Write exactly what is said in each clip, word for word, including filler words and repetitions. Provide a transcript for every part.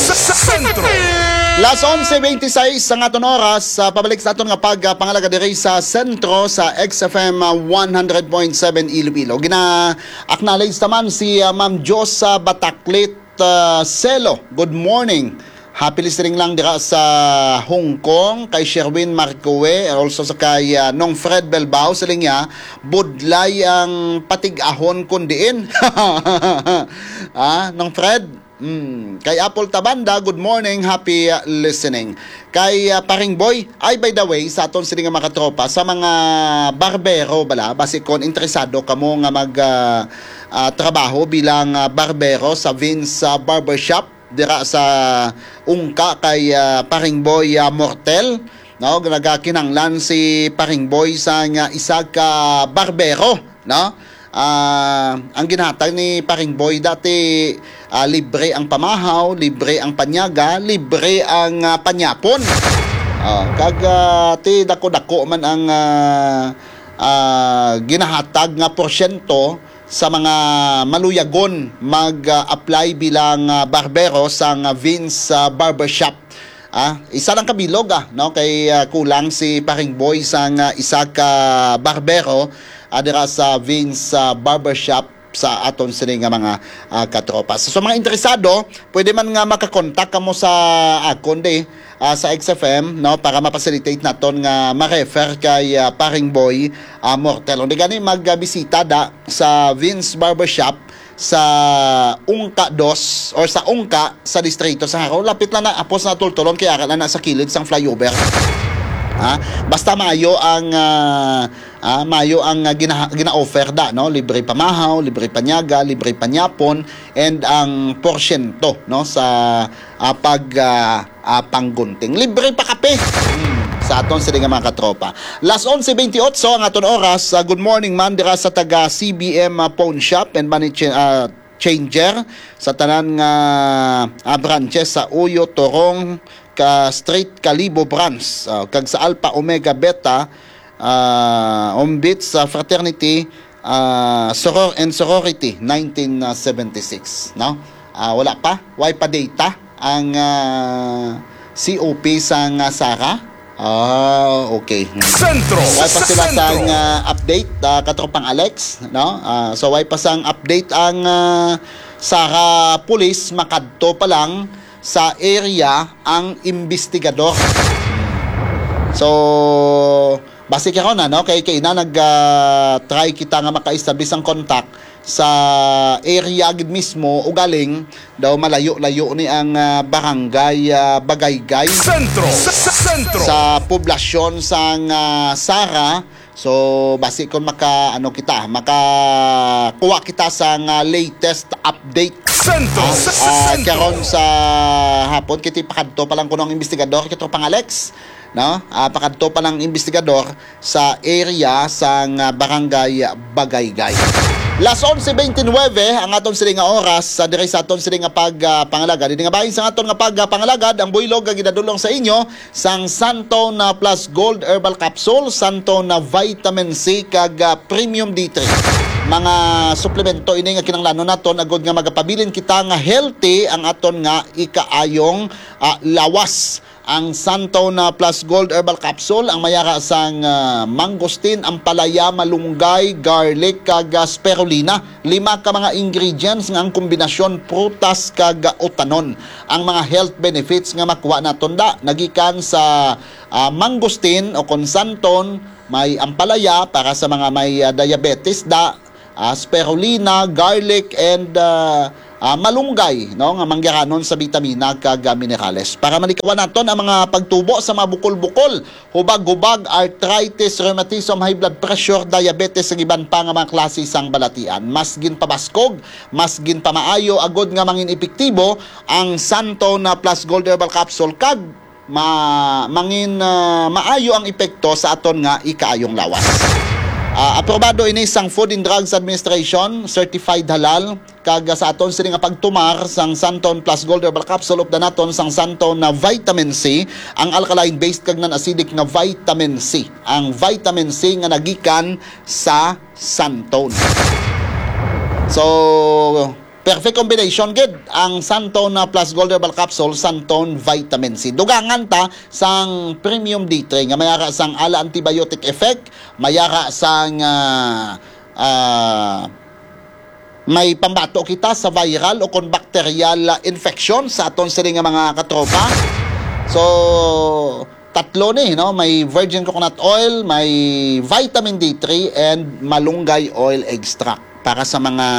Sentro. Las onse veintiséis ang aton oras. Ah, pabalik sa aton nga pagpangalagad diri sa sentro sa X F M, ah, one hundred point seven Iloilo. Gina-acknowledge naman si, ah, Ma'am Josa Bataklit, ah, Selo. Good morning. Happy listening lang dira sa Hong Kong, kay Sherwin Marcoe, also sa kay, ah, Nong Fred Belbao, siling niya, budlay ang patig-ahon kun diin. Ah, Nong Fred, mm, kay Apple Tabanda, good morning, happy, ah, listening. Kay, ah, Paring Boy, ay, by the way, sa aton sini nga mga katropa, sa mga barbero bala, basi kon interesado kamo nga mag, ah, ah, trabaho bilang, ah, barbero sa Vince, ah, Barbershop, dira sa Ungka kay, ah, Paring Boy, ah, Mortel, no? Nagakinahanglan si Paring Boy sa nga isa ka barbero, no? Ah, ang ginahatag ni Paring Boy dati, ah, libre ang pamahaw, libre ang panyaga, libre ang, ah, panyapon. Ah, kag, ah, ti dako-dako man ang, ah, ah, ginahatag nga porsyento sa mga maluyagon mag-apply bilang, ah, barbero sang Vince, ah, Barbershop. Ah, isa lang ka bilog, ah, no, kay, ah, kulang si Paring Boy sang, ah, isa ka barbero, ah, dira sa Vince, ah, Barbershop sa aton sini nga mga, ah, katropa. So, sa mga interesado, pwede man nga makakontak kamo sa akon di, ah, sa X F M, no, para ma-facilitate naton nga ma-refer kay, ah, Paring Boy, ah, Mortel. Undi gani magbisita da sa Vince Barbershop sa Ungka dos or sa Ungka sa distrito sa Jaro. Lapit lang na, apos na tultulon kay ara na na sa kilid sang flyover. Ha? Basta maayo ang, ah, ah, maayo ang, ah, gina- gina-offer da, no? Libre pamahaw, libre panyaga, libre panyapon, and ang porsyento, no, sa, ah, pag, ah, ah, panggunting. Libre pa kape. Hmm, sa aton sini nga mga katropa. Las onse veintiotso ang aton oras. Ah, good morning man dira sa taga C B M, ah, Pawn Shop and Money Cha- ah, Changer sa tanan nga, ah, branches sa Uyo, Torong, ka Street, Kalibo Branch, ah, kag sa Alpha Omega Beta, ah, Ombits, ah, Fraternity, ah, Soror and Sorority, nineteen seventy-six, no? Ah, wala pa, way pa data ang, ah, C O P sang, ah, Sara. Ah, okay. Hmm. Sentro. Way pa sila Sentro. sang, ah, update, ah, katropang Alex, no? Ah, so, way pa sang update ang, ah, Sara Police, makadto pa lang sa area ang investigador. So, basi karon, ano, kay, kay na nag, ah, try kita nga maka-establish ang contact sa area gid mismo, ugaling daw malayo-layo ni ang, ah, barangay, ah, Bagaygay Sentro. Sentro. sa poblasyon sang, ah, Sara. So, basi kung maka, ano kita, makakuha kita sa nga latest update. Sentro. Ah, Sentro. karon sa hapon, kiti pakadto pa lang kuno ang investigador, katropang Alex, no? Ah, pakadto pa lang investigador sa area sang, ah, barangay Bagaygay. Las onse veintinuebe ang aton sini nga oras sa diri sa aton sini nga pag, ah, pangalagad. Diri nga bahin sa aton nga pag, ah, pangalagad, ang buylog nga ginadulong sa inyo sang Santone Plus Gold Herbal Capsule, Santone Vitamin C, kag, ah, Premium D three. Mga suplemento ini nga kinahanglanon naton agud nga magapabilin kita nga healthy ang aton nga ikaayong, ah, lawas. Ang Santone Plus Gold Herbal Capsule, ang mayara sang, ah, mangosteen, ampalaya, malunggay, garlic, kag, ah, spirulina. Lima ka mga ingredients nga ang kombinasyon prutas kag, ah, utanon. Ang mga health benefits nga makuha naton da nagikan sa, ah, mangosteen o kon Santone, may ampalaya para sa mga may, ah, diabetes da, ah, spirulina, garlic, and, ah, ah, malunggay, no, nga manggiranon sa bitamina kag, ah, minerales. Para malikawan naton ang mga pagtubo sa mga bukol-bukol, hubag-hubag, arthritis, rheumatism, high blood pressure, diabetes, ug iban pa nga mga klase sang balatian. Mas ginpabaskog, mas ginpamaayo agud nga mangin epektibo ang Santone Plus Gold Herbal Capsule kag ma mangin, ah, maayo ang epekto sa aton nga ikaayong lawas. Ah, aprobado ini sang Food and Drugs Administration, certified halal, kag sa aton sini nga pagtumar sang Santone Plus Gold Herbal Capsule, updan naton sang Santone na vitamin C, ang alkaline based kag non-acidic nga vitamin C, ang vitamin C nga nagikan sa Santone. So, Perfect combination gid ang Santone Plus Gold Herbal Capsule, Santone Vitamin C. Dugangan ta sang Premium D three nga may ara sang ala antibiotic effect, may ara sang, ah, ah, may pambato kita sa viral o kon bacterial, ah, infection sa aton sini nga mga katropa. So, tatlo ni, no? May virgin coconut oil, may vitamin D three, and malunggay oil extract para sa mga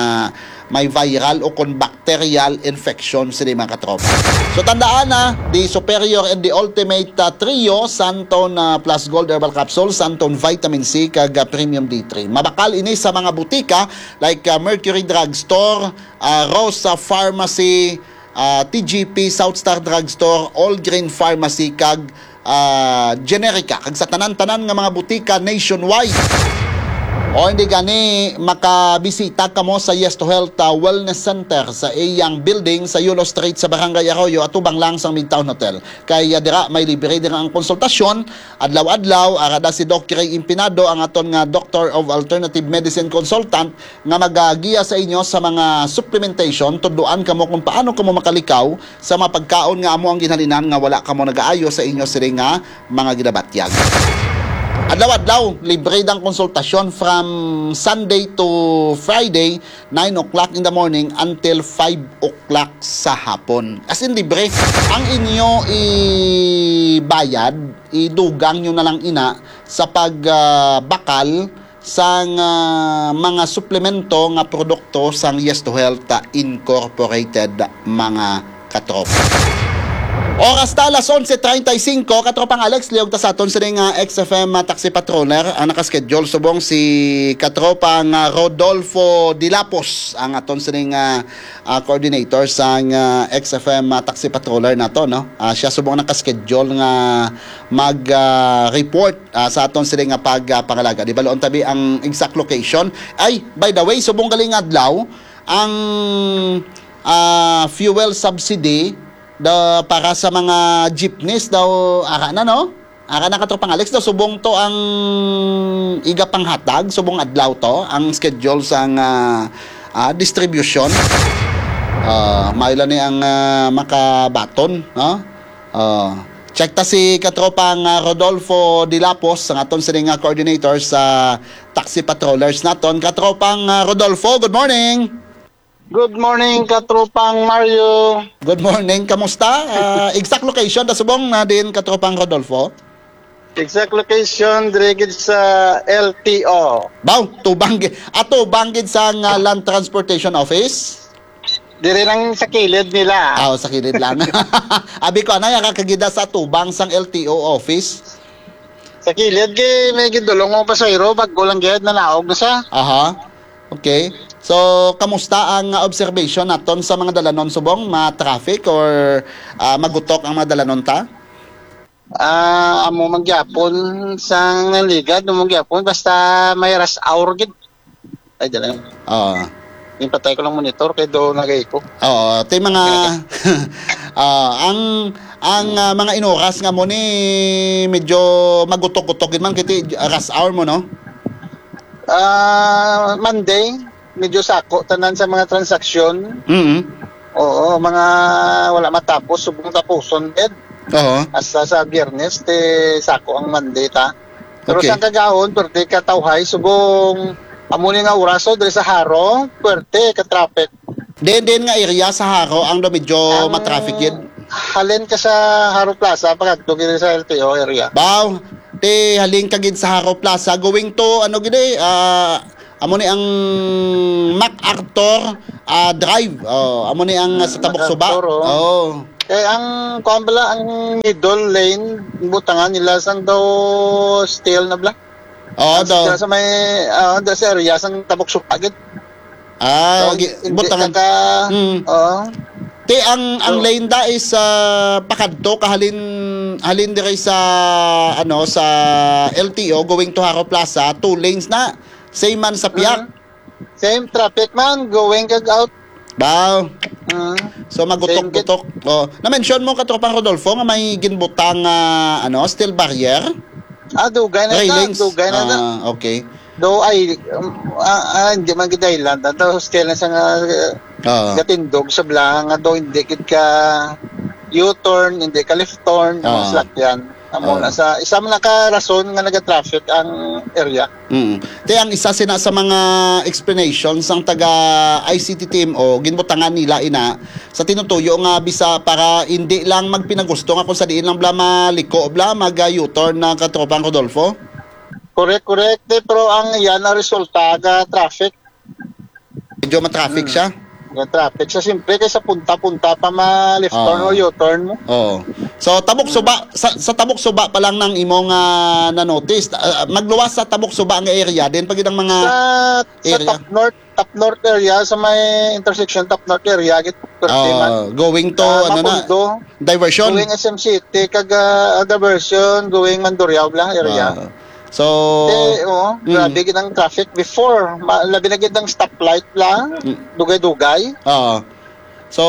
may viral o kon bacterial infection sini, mga katropa. So, tandaan na, the superior and the ultimate, ah, trio, Santone, ah, Plus Gold Herbal Capsule, Santone Vitamin C, kag, ah, Premium D three. Mabakal ini sa mga butika like, ah, Mercury Drugstore, ah, Rosa Pharmacy, ah, T G P, South Star Drugstore, All Green Pharmacy, kag, ah, Generica, kag sa tanan-tanan nga mga butika nationwide. O hindi gani, makabisita kamo sa Yes to Health, ah, Wellness Center sa iyang building sa Yulo Street sa Barangay Arroyo, atubang lang sang Midtown Hotel. Kay, ah, dira may libre dira ang konsultasyon adlaw-adlaw. Ara da si Doc Ray Impinado, ang aton nga Doctor of Alternative Medicine Consultant, nga magagiya sa inyo sa mga supplementation. Tudloan kamo kung paano kamo makalikaw sa mga pagkaon nga amo ang ginhalinan nga wala kamo nagaayo sa inyo sini nga mga ginabatyag. Adlaw-adlaw, libre dang konsultasyon from Sunday to Friday, nine o'clock in the morning until five o'clock sa hapon. As in, libre. Ang inyo ibayad, idugang nyo na lang ina sa pagbakal sang, ah, mga suplemento nga produkto sang Yes to Health, ah, Incorporated, mga katropa. Oras ta, alas onse treinta y cinco, Katropang Alex, liog ta sa aton sining, ah, X F M, ah, taxi patroller ang nakaschedule. Subong si Katropang, ah, Rodolfo Dilapos ang aton sining, ah, ah, coordinator sang, ah, X F M, ah, taxi patroller nato, no? Ah, siya subong nakaschedule nga mag, ah, report, ah, sa aton sini nga pag, ah, pangalaga. Di ba, loon tabi ang exact location? Ay, by the way, subong galing adlaw, ang, ah, fuel subsidy da, para sa mga jeepneys daw, ara na, no? Ara na, Katropang Alex, daw subong to ang iga panghatag, subong adlaw to ang schedule sang, ah, ah, distribution. Ah, maayo lang ni ang, ah, makabaton, no? Ah, check ta si Katropang, ah, Rodolfo Dilapos, ang aton sini nga coordinator sa taxi patrollers naton. Katropang, ah, Rodolfo, good morning. Good morning, Katropang Mario. Good morning. Kamusta? Ah, exact location ta subong na din, Katropang Rodolfo? Exact location, diri gid sa L T O. Baw, tubang gid. Ah, tubang gid sa nga Land Transportation Office? Diri lang sa kilid nila. Ah, sa kilid lang. Abi ko, anay, ang kakagida sa tubang sang L T O office? Sa kilid, kay may gidulong mo pasahero, bago lang gid, nanaog na siya. Aha. Okay. So, kamusta ang, ah, observation naton sa mga dalanon subong? Ma-traffic or, ah, magutok ang mga dalanon ta? Ah, amo man gyapon sang nangligad, amo man gyapon, basta may rush hour gid. Ay, dala. Oo. Yung patay ko lang monitor kay do nagay ko. Oo, tay mga, ah, ang, ang, ah, mga inoras nga mo ni medyo magutok-gutok gid man kay ti rush hour mo, no? Ah, Monday, medyo sako tanan sa mga transaksyon. Mm. Oo, mga wala matapos, subong tapuson gid. Oo. Hasta sa Biyernes, ti sako ang Monday ta. Pero Okay. sa kagahon, pwerte ka tawhay, subong amo ni nga oraso diri sa Jaro, pwerte ka traffic. Din, din nga area sa Jaro ang do medyo Ang matraffic gid. Halin ka sa Jaro Plaza, pagkadto gid sa L T O area. Baw, ti halin ka gid sa Jaro Plaza, going to, ano gid eh, ah, amo ni ang MacArthur, ah, Drive. Oh, amo ni ang, ah, sa Tabok Suba. MacArthur, oh. Oh. Eh, ang, kuwan pala, ang middle lane, butangan nila sang daw steel na bla. Oo, Ang daw. Sa, sa may, ah, sa area, sang Tabok Suba gid. Ah, So, gi-, hindi butangan. kaka-, Mm. Oo. Ti, ang, ang So, lane da is, ah, pakadto, kahalin, halin diri sa, ano, sa L T O, going to Jaro Plaza, two lanes na. Same man sa piyak. Mm. Same traffic man, going kag out. Baw. Mm. So, Same git- magutok-gutok. Oh, na-mention mo, Katropang Rodolfo, nga may ginbutang, ah, ano, steel barrier? Ah, dugay na ta, Railings? Dugay na ta. Ah, okay. Do, ay, um, ah, ah, hindi man gid island. Ato, hostel na sa nga, uh, Oo. Gatindog sa bala nga daw hindi gid ka U-turn, hindi ka left turn, ang mga Oo. salakyan. Amo Oo. na sa isa man na ka rason nga nagatraffic ang area. Mm. Te, ang isa sina sa mga explanation sang taga I C T T M O, ginbutangan nila ina sa tinutuyo nga bisa para hindi lang magpinagusto nga kung sa diin lang bala maliko bala mag, ah, U-turn na katropang Rodolfo. Correct, correct. Te, pero ang yan ang resulta ga traffic. Medyo ma-traffic Mm. siya. Ga traffic siya, siyempre, kay sa punta-punta pa ma-left turn Oo. or U-turn mo. Oo. So, Tabok Mm. Suba, sa, sa Tabok Suba pa lang nang imong, ah, na-notice. Ah, magluwas sa Tabok Suba nga area, din pa gid ang mga Sa, sa area. Top North, Top North area, sa may intersection Top North area, gid, pwerte man. Ah, going to, Sa ano na, Mabundo, diversion. Going S M City, kag, ah, diversion, going Mandurriao bala area. Ah. So, Eh, oo, mm. grabe gid ang traffic before. Ma-, labi na gid ang stoplight lang, Mm. dugay-dugay. Oo. So,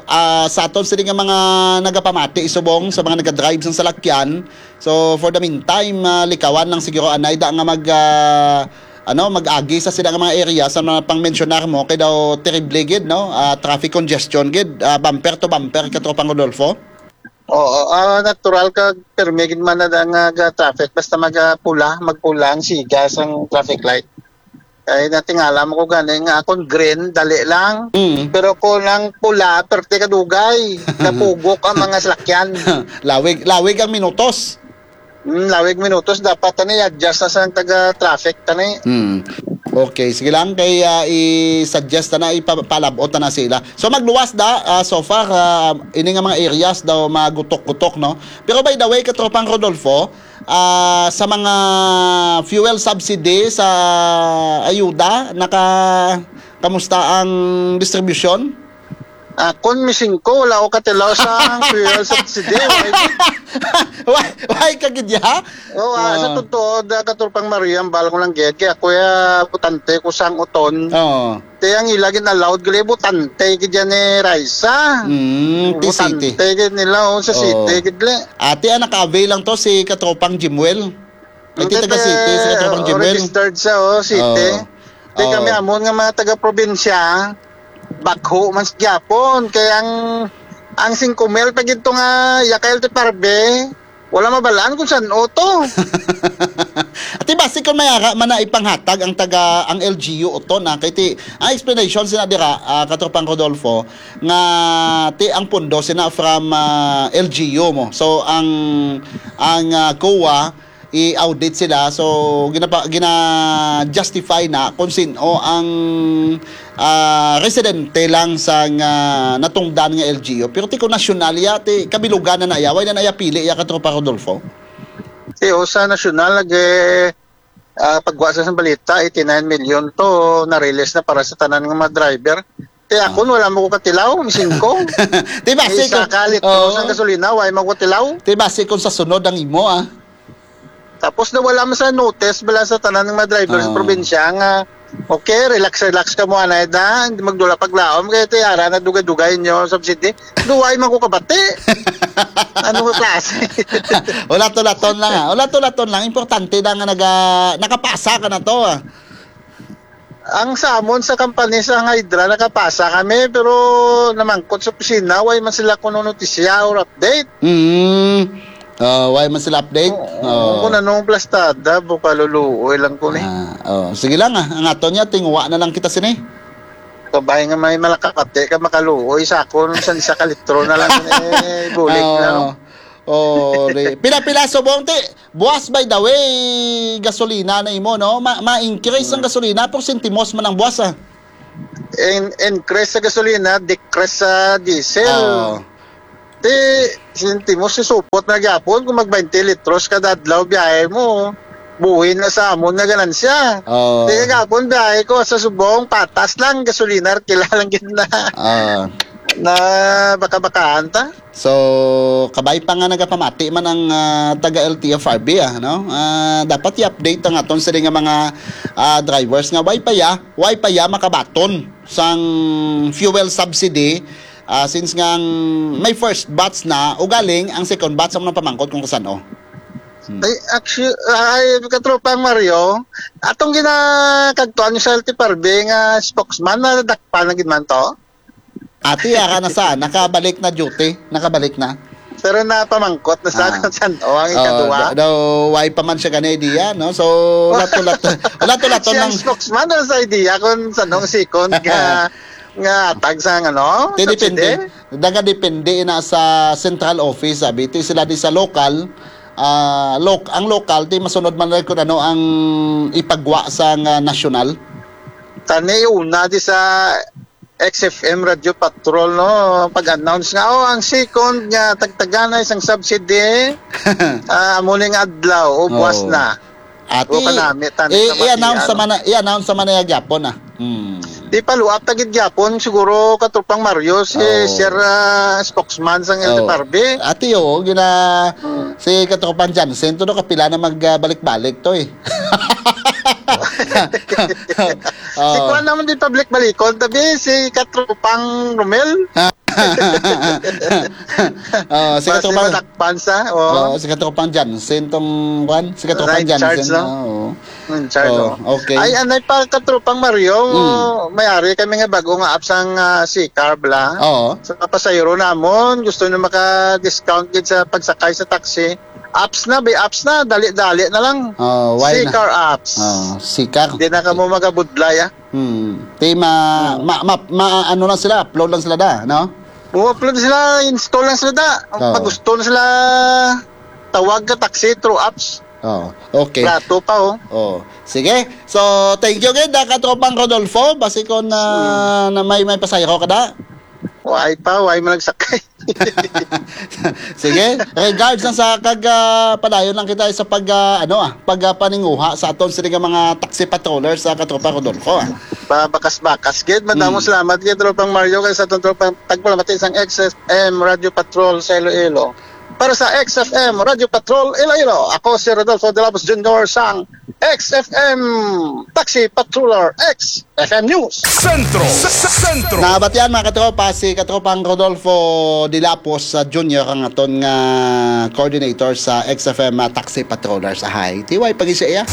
ah, sa aton sini nga mga nagapamati subong sa mga nagadrive sang salakyan, so, for the meantime, ah, likawan lang siguro anay da nga mag, ah, ano, mag-agi sa sila nga mga area sa mga pang-mensionar mo, kay daw terrible gid, no? Ah, traffic congestion gid, ah, bumper to bumper, katropang Rodolfo. Oo, ah, natural ka, pirmi gid man na nga ga-traffic basta magapula, magpula ang siga sang traffic light. Ay, natingala mo ko gani nga akon green, dali lang. Mm. Pero kung ang pula, perte ka dugay. Napugok ang mga salakyan. Lawig, lawig ang minutos. Mm, lawig minutos, dapat tani adjust na sa taga traffic tani. Mm. Okay, sige lang kay, ah, i-suggest na, ipapalabot na sila. So magluwas da, ah, so far, ah, ini nga mga areas daw magutok-gutok, no? Pero by the way, katropang Rodolfo, ah, sa mga fuel subsidy sa ayuda, naka, kamusta ang distribution? Ah, kun mi singko, wala ko katilaw sa fuel subsidy. Why, why ka gid ya? Oh, ah, sa Ah. totoo, da, katropang Maria, ang bal ko lang gid, kay ako ya, butante ko sang uton. Oo. Te, ang ila gid allowed gali, butante gid yan ni Raisa. Mm, ti city. Butante gid nila, oh, sa Oo. city gid li. Ate, ah, naka-avail lang to si katropang Jimwell. Ay, ti Hindi, taga city, si katropang oh, Jimwell. Registered siya, oh, city. Oo. Te, Oo. kami amon nga mga taga-probinsya, bakho man sa gyapon. Kay ang, ang singko mil pa gid to nga yakay ti parbe, wala mabalaan kung san-o to. Ati basi kung may ara man na ipanghatag ang taga, ang L G U uton, ah, kay ti, ang explanation sina dira, ah, katropang Rodolfo, nga ti ang pundo sina from, ah, L G U mo. So ang, ang, ah, COA, i-audit sila, so ginapa-, gina-justify na kung sin-o ang, ah, residente lang sa nga natungdan nga L G U. Pero ti ko nasyonal ya, ti kabilugan na naya, way na naya pili ya, katropang Rodolfo? Ti, o, sa nasyonal, nag, eh, ah, pagwa sa, sa balita, eighty-nine million to na-release na para sa tanan nga mga driver. Ti akon, Ah. wala mo ko katilaw, mising ko. Ti basi Isa ko, ka litro oo. sang gasolina, way mo ko tilaw. Ti basi kung sa sunod ang imo, ah. Tapos na wala man sa notice bala sa tanan nga mga driver sa Ah. probinsya nga, okay, relax, relax ka mo, anay da, hindi magdula paglaom, kaya ti ara na dugay-dugay inyo subsidy. Duway man ko kabati. Ano nga klase? Wala to laton lang, ah. Wala to laton lang. Importante na nga naga-, nakapasa ka na to, ah. Ang sa amon sa company sa Hydra, nakapasa kami, pero namangkot sa opisina, way man sila kuno notisya or update. Mm. Ah, way man sila update? Oo, Oo. kung anong plastada, bukaluluoy lang ko ni. Ah, oh. Sige lang, ah. Ang ato niya, tinguha na lang kita sini. Kabay nga may malakakate ka makaluoy sa akon, san isa ka litro na lang, eh, bulig Oo. na, no? Oh, di. Pila-pila subong ti. Buwas, by the way, gasolina na imo, no? Ma-, ma-increase ang Hmm. gasolina, pero sentimos man ang buwas, ah. In-, increase sa gasolina, decrease sa diesel. Oo. Ti, sentimos, susupot na gyapon kung mag twenty litros kada adlaw biyahe mo. Buhi na sa amon nga ganansya. Oo. Ti, kagapon biyahe ko sa Subong, patas lang, gasolina, kila lang gid na. Ah. Na baka-bakahan ta. So, kabay pa nga nagapamati man ang, ah, taga L T F R B, ah, no? Ah, dapat i-update ang aton sila nga mga, ah, drivers nga way pa ya, way pa ya makabaton sang fuel subsidy, ah, since nga ang may first batch na, ugaling ang second batch ang napamangkot kung kasan-o. Hmm. Ay, actu-, ay, katropang Mario, atong ginakagtuan ni sa L T F R B nga spokesman, nadakpan na gid man to? Ati, ara na sa, nakabalik na duty, nakabalik na. Pero napamangkot na sa Ah. kung saan o ang Oh, ikaduha. da- daw, why pa man siya gani idea, no? So, lato-lato, lato-lato Siya lang. Ang spokesman na sa idea kung saan ang second nga nga tag sa ano? Ti depende. Subsidy? Daga depende na sa central office, sabi. Ti sila di sa local, ah, loc- ang local, ti masunod man lang kung ano ang ipagwa sa nga national. Tani una di sa X F M Radio Patrol, no, pag-announce nga, oh, ang second nga tagtaganay sang subsidy, ah, amo ning adlaw, o buwas Oo. na. Ati, O kanami, tani i- sa mati, i-announce sa ano. mana, i-announce sa mana gyapon, ah. Hmm. Di pa luap tagid gyapon siguro, katropang Mario, si Oo. Sir, ah, spokesman sang Oo. L T F R B. Ati, oo, gina, si katropang Jansen, to, no, kapila na magbalik-balik to, eh. Si Oo. Kuan naman di pabalik-balikon, tabi si katropang Romel. Oh, si Basi katropang, madakpan sa, oh, oh. Si katropang Jansen tong, kwan, si katropang Sa in charge, Jansen. No? Oo. In charge, Oh, oh. okay. Ay, anay pa, katropang Mario, Mm. may ari kami nga bago nga app sang, ah, C-Car, bla. Oo. Sa pasahero namon, gusto nyo maka-discount gid sa pagsakay sa taxi. Apps na, be, apps na, dali-dali na lang. Oh, why na? C-Car apps. Oh, C-Car. Di na kamo magabudlay, ah. Hmm. Ti ma, ma, ma, ma, ano lang sila, upload lang sila da, no? O, upload sila, install lang sila da. Oo. Pag gusto na sila, tawag ka taxi through apps. Oh, okay. Barato pa, oh. Oh, sige. So, thank you gid, ah, katropang Rodolfo. Basi kon, ah, na may, may pasahero ka da. Why pa? Why man nagsakay? Sige, regards na sa kag, ah, padayon lang kita sa pag, ah, ano, ah, pag, ah, paninguha sa aton sini nga mga taxi patrollers sa katropa Rodolfo, ah. Babakas-bakas gid. Madamo Mm. salamat gid, tropang Mario, kay sa atong tropang tagpalamati sang X F M Radio Patrol sa Iloilo. Para sa X F M Radio Patrol Iloilo, ako si Rodolfo de Labos Junior sang X F M Taxi Patroller X F M News. Sentro. Sentro. Nabatian, mga katropa, si katropang Rodolfo Dilapos, ah, Junior ang aton nga coordinator sa X F M, ah, Taxi Patrollers. Ahay, tiway pag siya iya.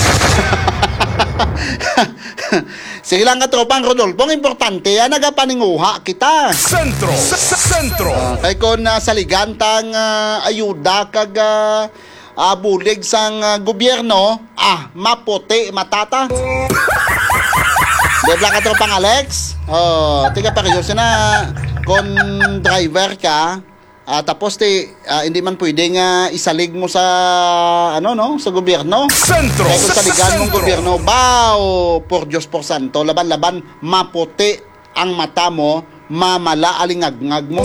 Sige lang, katropang Rodolfo, ang importante, ah, nagapaninguha kita. Sentro. Sentro. Ah, kay kon, ah, saligan tang, ah, ayuda kag, ah, ah, bulig sang, ah, gobyerno, ah, maputi matata. Di ba, katropang Alex? Oh, tiga pareho sina kon driver ka, ah, tapos ti, ah, hindi man pwede nga isalig mo sa, ano, no, sa gobyerno. Sentro. Kaya kung saligan mong Sentro. Gobyerno, bao, por Diyos, por santo, laban-laban, maputi ang mata mo, mamala alingagngag mo.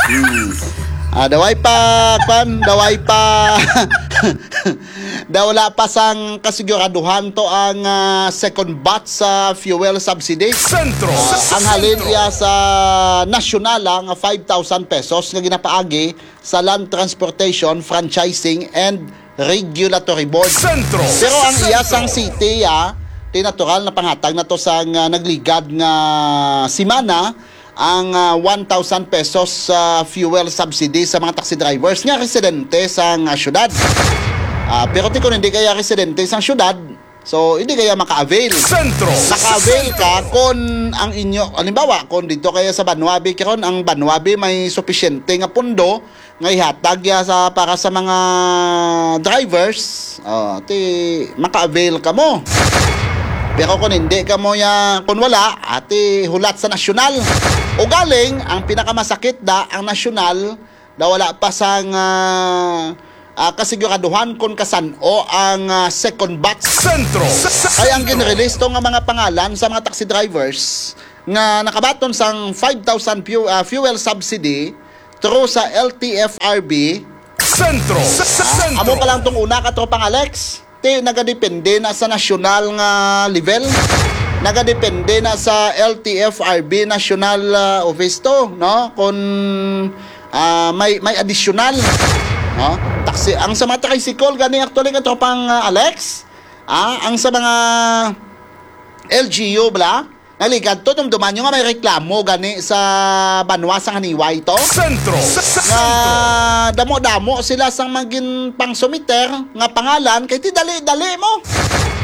Hmm. Ah, daway pa, kwan, daway pa. Daw wala pa sang kasiguraduhan to ang, ah, second batch sa fuel subsidy. Sentro. Ah, ang halin iya sa nasyonal, ah, nga five thousand pesos nga ginapaagi sa Land Transportation, Franchising, and Regulatory Board. Sentro. Pero ang iya Sentro. Sang city, ah, ti natural na panghatag na to sa nga nagligad nga simana ang, ah, one thousand pesos sa fuel subsidy sa mga taxi drivers nga residente sa nga syudad. Ah, pero ti kung hindi kaya residente sa syudad, so hindi kaya maka-avail. Sentro. Naka-avail ka kung ang inyo, halimbawa, kung dito kaya sa Banwa B, karon ang Banwa B may supisyente nga pundo nga ihatag ya sa, para sa mga drivers, oh, ti maka-avail ka mo. Pero kung hindi ka mo ya, kung wala, ati hulat sa nasyonal. O galing, ang pinakamasakit da, ang nasyonal, na wala pa sang, ah, ah, kasiguraduhan kung kasan-o ang, ah, second batch. Sentro. Kaya ang ginrelease to nga mga pangalan sa mga taxi drivers nga nakabaton sang five thousand fu-, ah, fuel subsidy through sa L T F R B. Sentro. Sentro. Amo pa lang tong una, katropang Alex. Ti nagadepende na sa nasyonal nga level. Nagadepende na sa L T F R B national, ah, office to, no? Kung, ah, may, may additional, no? Taxi, ang sa mga tricycle gani, actually, katropang, ah, Alex, ah, ang sa mga L G U, bala, naligad to, dumduman nyo nga may reklamo gani sa Banwa sang Haniway to. Sentro. Nga damo-damo sila sang magin pang sumiter nga pangalan, kay ti dali-dali mo.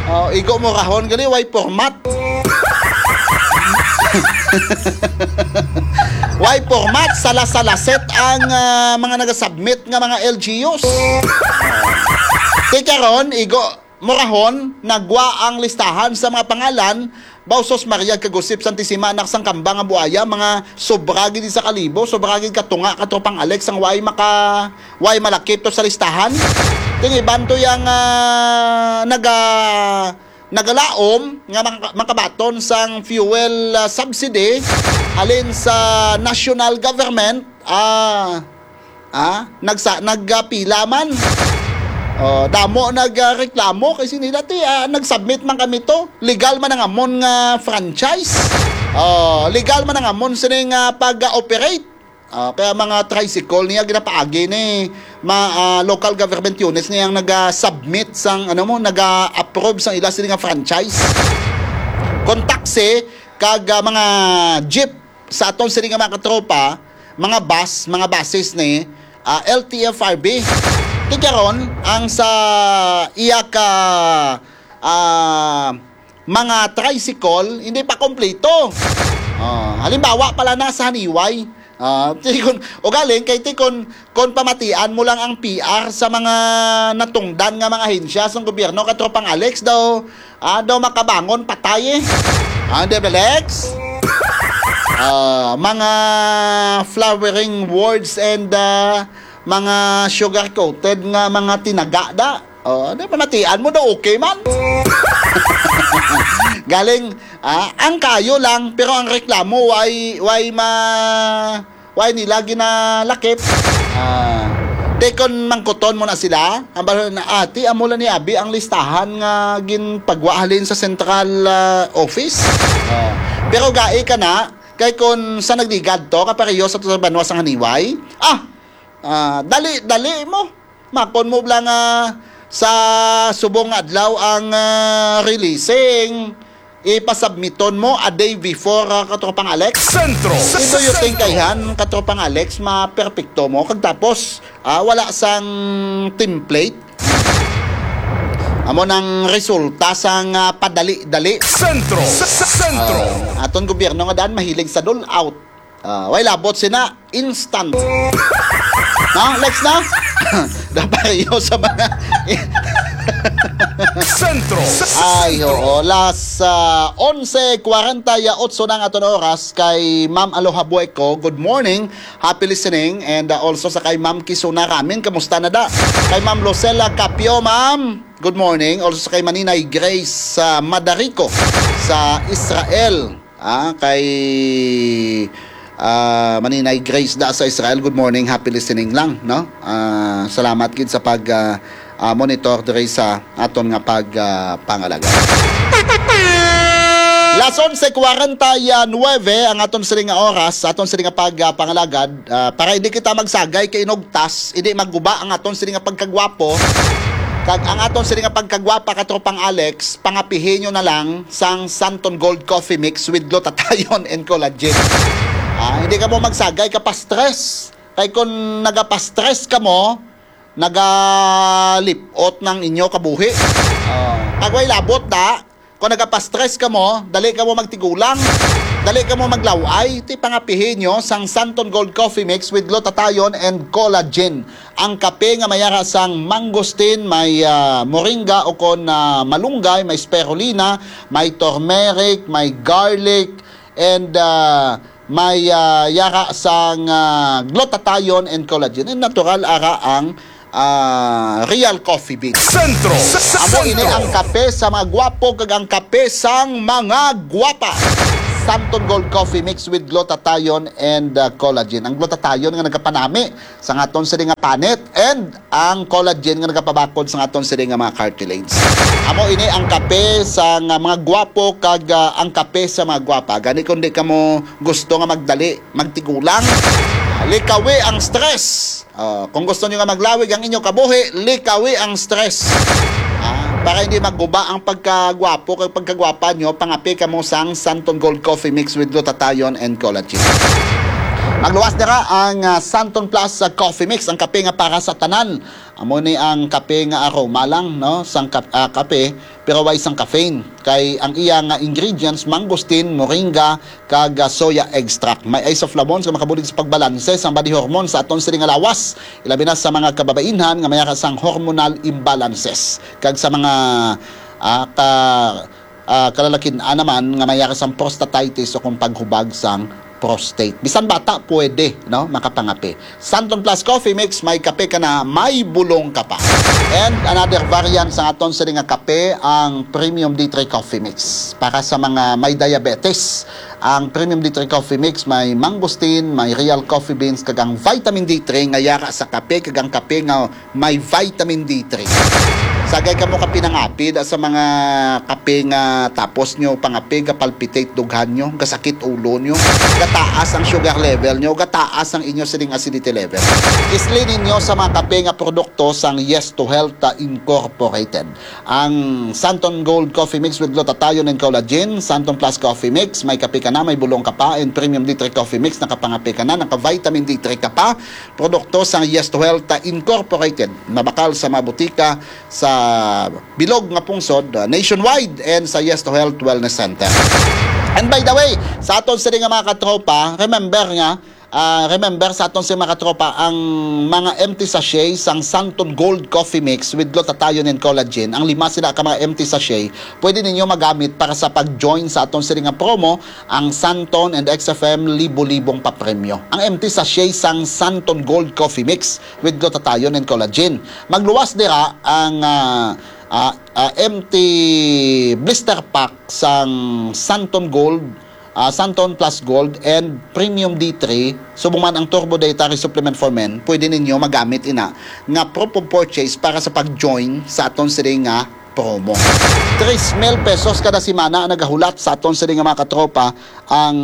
Oh, igo mo rahon gali, way format. Why format? Sala-salaset ang, ah, mga nagasubmit nga mga L G Us. Ti karon, igo, murahon, nagwa ang listahan sa mga pangalan. Bausos Maria kag Josep Santisima, anak sang kamba nga buaya, mga sobra gid sa kalibo, sobra gid katunga, katropang Alex, ang way maka, way malakip to sa listahan. Ting iban to yang, ah, naga, nagalaom nga maka-, makabaton sang fuel, ah, subsidy halin sa national government, ah, ah, nagsa-, nagapila man. Oh, damo nagreklamo kay sila ti, ah, nag-submit man kami to. Legal man ang amon nga franchise. Oh, legal man ang amon sini nga pag-operate. Ah, kaya mga tricycle niya ginapaagi ni ma, ah, local government units niya ang naga-submit sang, ano mo, naga-approve sang ila sini nga franchise. Kon taxi kag, ah, mga jeep sa aton sini nga mga katropa, mga bus, mga buses ni, ah, L T F R B. Ti karon ang sa iya ka, ah, mga tricycle, hindi pa kompleto. Ah, halimbawa pala na sa Haniway. Ah, ti kon, ugaling kay ti kon, kon pamatian mo lang ang P R sa mga natungdan nga mga ahensya sa gobyerno, katropang Alex, daw, ah, daw makabangon patay eh. Ah, di ba, Lex? Ah, mga flowering wards and, ah, mga sugar-coated nga mga tinaga da. Oh, di, pamatian mo daw, okay man. Galing, ah, ang kayo lang, pero ang reklamo, why, why ma, why nila ginalakip? Ah, te kon mangkuton mo na sila, ang bala na, "Ati, amo lang ni abi ang listahan nga ginpagwa halin sa central, ah, office." Ah, pero gai ka na, kay kon sa nagligad to, kapareho sa to sa banwa sang Haniway, ah, ah, dali, dali mo. Makon mo lang nga sa subong nga adlaw ang, ah, releasing, ipasubmiton mo a day before, ah, katropang Alex. Sentro. Ito yung tingkayhan, katropang Alex, maperpekto mo. Kag tapos, ah, wala sang template. Amo nang resulta sang, ah, padali-dali. Sentro. Sentro. Ah, aton gobyerno nga daan mahilig sa dole out. Ah, way labot sina, instant. Na, Lex, na? Dapayo sa mga Sentro. Ay, oo. Las, ah, onse kwarenta y otso na ang aton oras kay Ma'am Aloha Bueco. Good morning. Happy listening. And, ah, also sa kay Ma'am Kisuna Ramin. Kamusta na da? Kay Ma'am Lucela Capio, ma'am. Good morning. Also sa kay Maninay Grace sa Madarico sa Israel. Ah, kay, ah, Maninay Grace da sa Israel, good morning, happy listening lang, no? Ah, salamat gid sa pag, ah, ah, monitor diri sa aton nga pag, ah, pangalagad. Las onse kwarenta y nuebe ang aton sini nga oras, aton sini nga pag, ah, pangalagad. Ah, para hindi kita magsagay kay inugtas, hindi magguba ang aton sini nga pagkagwapo. Kag ang aton sini nga pagkagwapa, katropang Alex, pangapihi nyo na lang sang Santon Gold Coffee Mix with glutathione and collagen. Ah, hindi ka mo magsagay ka pa-stress. Kay kung nagapa-stress ka mo, nagalipot ng inyo kabuhi. Ah, kag way labot da, kung nagapa-stress ka mo, dali ka mo magtigulang, dali ka mo maglaway, ti pangapihi nyo sang Santon Gold Coffee Mix with glutathione and collagen. Ang kape nga may yara sang mangosteen, may, ah, moringa o kon, ah, malunggay, may spirulina, may turmeric, may garlic, and, ah, may, ah, yara sang, ah, glutathione and collagen. And natural ara ang, ah, real coffee beans. Sentro. Amo ini ang kape sa mga gwapo kag ang kape sang mga gwapa. Santon Gold Coffee Mix with glutathione and, ah, collagen. Ang glutathione nga nagapanami sang aton sini nga panit, and ang collagen nga nagapabakod sang aton sini nga mga cartilage. Amo ini ang kape sa nga mga gwapo kag, ah, ang kape sa mga gwapa. Gani kung di ka mo gusto nga magdali, magtigulang, likawi ang stress. Ah, kung gusto nyo nga maglawig ang inyo kabuhi, likawi ang stress. Ah, para hindi magguba ang pagkagwapo kag pagkagwapa nyo, pangape ka mo sang Santon Gold Coffee Mix with glutathione and collagen. Magluwas dira ang, ah, Santon Plus, ah, Coffee Mix, ang kape nga para sa tanan. Amo ni ang kape nga aroma lang, no, sang kap-, ah, kape, pero way sang caffeine. Kay ang iya nga ingredients, mangosteen, moringa, kag, ah, soya extract. May isoflavones nga makabulig sa pagbalanse sang body hormone sa aton sini nga lawas, ilabi na sa mga kababainhan nga may ara sang hormonal imbalances, kag sa mga, ah, ka-, ah, kalalakin-an naman nga may ara sang prostatitis o kung paghubag sang prostate. Bisan bata pwede, no, makapangape. Santon Plus Coffee Mix, may kape ka na, may bulong ka pa. And another variant sa aton sini nga kape, ang Premium D three Coffee Mix. Para sa mga may diabetes, ang Premium D three Coffee Mix may mangosteen, may real coffee beans, kag ang vitamin D three nga yara sa kape, kag ang kape nga may vitamin D three. Sagay kamo ka pinangapid sa mga kape nga tapos nyo pangape, ga-palpitate dughan nyo, gasakit ulo nyo, gataas ang sugar level nyo, gataas ang inyo sining acidity level. Isli ninyo sa mga kape nga produkto sang Yes to Health, ah, Incorporated. Ang Santon Gold Coffee Mix with glutathione and collagen, Santon Plus Coffee Mix, may kape ka na, may bulong ka pa, and Premium D three Coffee Mix, nakapangape ka na, naka-vitamin D three ka pa. Produkto sang Yes to Health, ah, Incorporated, mabakal sa mga butika sa bilog nga pungsod, ah, nationwide, and sa Yes to Health Wellness Center. And by the way, sa aton sini nga mga katropa, remember nga, ah, remember sa aton sini mga katropa, ang mga empty sachet sang Santon Gold Coffee Mix with glutathione and collagen, ang lima sila ka mga empty sachet, pwede ninyo magamit para sa pag-join sa aton sini nga promo, ang Santon and X F M libo-libong papremyo. Ang empty sachet sang Santon Gold Coffee Mix with glutathione and collagen. Magluwas dira ang, ah, ah, ah, empty blister pack sang Santon Gold, ah, Santon Plus Gold and Premium D three, subong man ang Turbo Dietary Supplement for Men, pwede ninyo magamit ina nga proof of purchase para sa pag-join sa aton sini nga promo. Tres mil pesos kada semana ang nagahulat sa aton sini nga mga katropa ang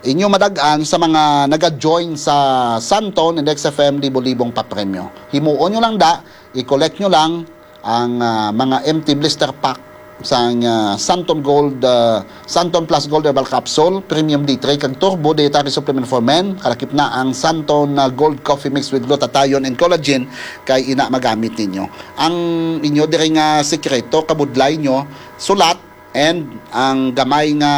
inyo madag-an sa mga naga-join sa Santon and X F M libo-libong papremyo. Himuon nyo lang da, i-collect nyo lang ang, ah, mga empty blister pack sang, ah, Santon Gold, ah, Santon Plus Gold Herbal Capsule, Premium D three, kag Turbo Dietary Supplement for Men, kalakip na ang Santon, ah, Gold Coffee Mix with Glutathione and Collagen, kay ina magamit ninyo. Ang inyo diri nga sekreto, kabudlay nyo, sulat, and ang gamay nga,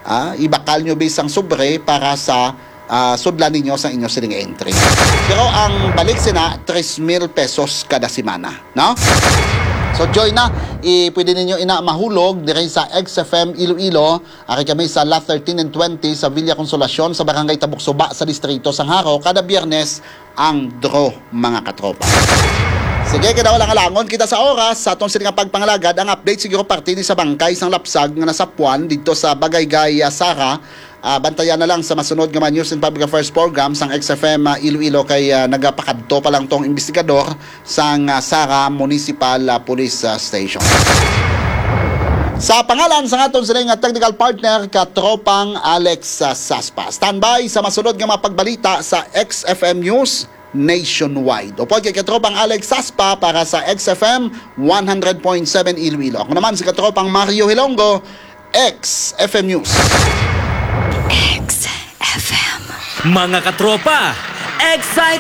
ah, ibakal nyo bisang sobre para sa, ah, sudlan ninyo sa inyo sining entry. Pero ang balik sina, tres mil pesos kada semana, no? So, join na. I, pwede ninyo ina mahulog diri sa X F M Iloilo. Ari kami sa Lot thirteen and twenty sa Villa Consolacion sa Barangay Tabuksuba sa Distrito sang Jaro kada Biyernes ang draw, mga katropa. Sige, kay daw lang alangon kita sa oras sa aton sini nga pagpangalagad. Ang update siguro parte ni sa bangkay sang lapsag nga nasapuan didto sa Bagayga, ah, Sara. Ah, bantayan na lang sa masunod nga mga News and Public Affairs program sang X F M, ah, Iloilo kay, ah, nagapakadto pa lang tong investigador sang, ah, Sara Municipal, ah, Police, ah, Station. Sa pangalan sang aton sini nga technical partner, Katropang Alex, ah, Saspa. Standby sa masunod nga mga pagbalita sa X F M News Nationwide. Upod kay Katropang Alex Saspa para sa X F M one hundred point seven Iloilo. Ako naman si Katropang Mario Hilongo, X F M News. X F M. Mga katropa, Excite